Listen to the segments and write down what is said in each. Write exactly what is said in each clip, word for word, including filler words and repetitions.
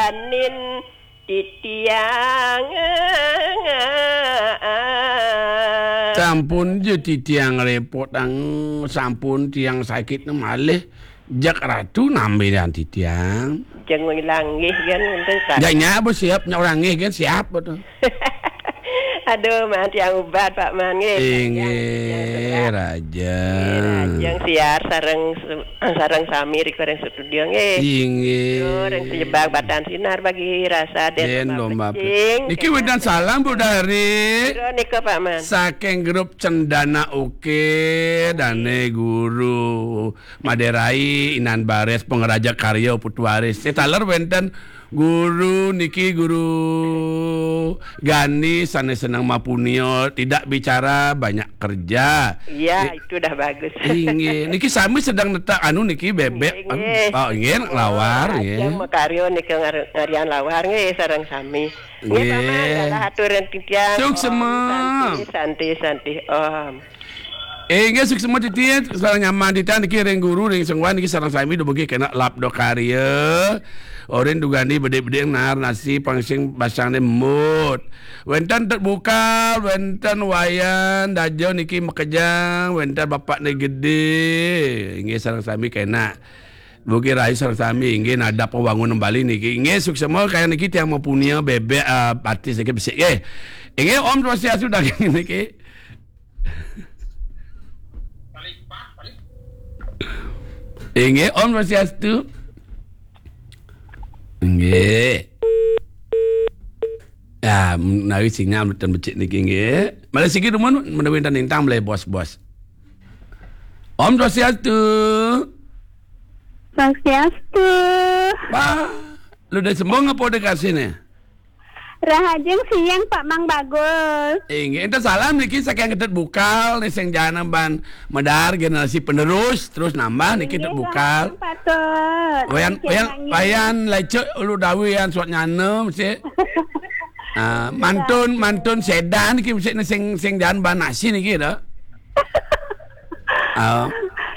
Anin titiang. Sampun ja titiang repot, ang, sampun tiang sakit malih. Jak Ratu nambe dan titiang. Jeng ngilang nggih kan, untuk Ratu. Jak nyak apa siap, nyak orang nggih kan siap betul. Aduh, man tiang ubat, Pak Man, nggih. Inggih, Rajang. Inggih, Rajang siar sareng su-, sareng sami rika ring studio, nggih. Inggih. Yo, ring sejebak batan sinar bagi rasa den Den lomba lomba pecing. Niki wénten salam, Bu Dari. Pira nika, Pak Man? Saking grup Cendana Oke, dane guru Maderai, Inan Bares, Pangeraja Karya, Putu Waris. Saya taler wénten guru niki, Guru Gani, sane seneng mapunia, tidak bicara, banyak kerja. Iya, I-, itu udah bagus. Inggih. Niki sami sedang netak anu niki, bebek. Inggih, inggih. Oh, inggih, lawar, Ajeng nggih. Makarya nika ngar-, ngarian lawar, nggih, sareng sami. Nggih, Pak Man, nggih. Galah atur ring titiang. Suksema. Om Santi, Santi, Santi, Om. Inggih, suksema titiang, sareng nyaman titiang niki ring guru, ring sengwan niki sareng sami dumugi kena labda karya. Orin dugani bedik-bedik nar nasi pangsing basang ne mut. Wénten Tut Bukal, wénten Wayan, Daja niki makejang, wénten Bapak ne Gede. Inggih, sareng sami kena. Mugi rahayu sareng sami, inggih, nadap wangun Bali niki. Inggih, suksema kaya niki tiang mapunia bebek, ah, batis niki besik, nggih. Inggih, Om Swastiastu daging niki. Inggih, Om Swastiastu. Inggih. Ya, menawi sinyal mboten becik niki, nggih. Malih siki dumun menawi wénten lintang malih bos-bos. Om Swastiastu. Swastiastu. Wah, lu dari Sembong apa dari Kasih nih? Rahajeng siang, Pak Mang Bagus. Inggih, enten salam niki saking Tut Bukal nih sing jana ban medar generasi penerus terus nambah niki Tut Inggih, Bukal. Rahajeng patut. Wayan, Oke, wayan, Mang. Wayan lecek ulu dawi yan suat nyana mesti. Ah, mantun, mantun sedan niki mesti sing, sing jana ban nasi niki dah. Oh.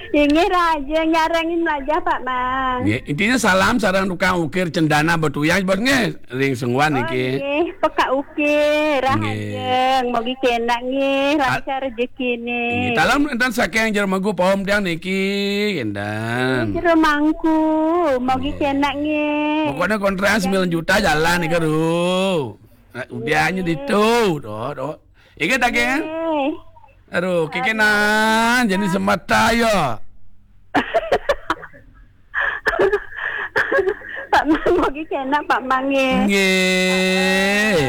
Inggih raja nyarengin aja, Pak Mang. Nggih, intinya salam sareng tukang ukir cendana Betuyang, Bos, nggih, ring Sengwan Oh, niki. Nggih, peka ukir, Nggih. Rahajeng. Mugi kenak nggih, A-, lancar rezekine. Nggih, talam enten saking Jero Megu Paom tiang niki, enten. Jero Mangku, mugi Nggih. Kenak nggih. Pokoknya kontrakan sembilan juta jalan nih, Kru. Nah, udiannya Nggih. Ditu, doh, doh. Inggih, daging, eh? Nggih. Aduh, kikenan jadi semata ya. Pak Mang, mugi kenak, Pak Mang, nggih. Nggih.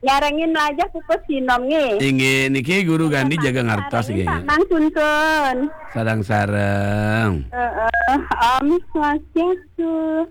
Nyarengin aja pupus sinom, nggih. Inggih, niki Guru Gandhi jaga ngartos, nggih. Pak Mang, tuntun. Sareng-sareng. Heeh, Om Swastiastu.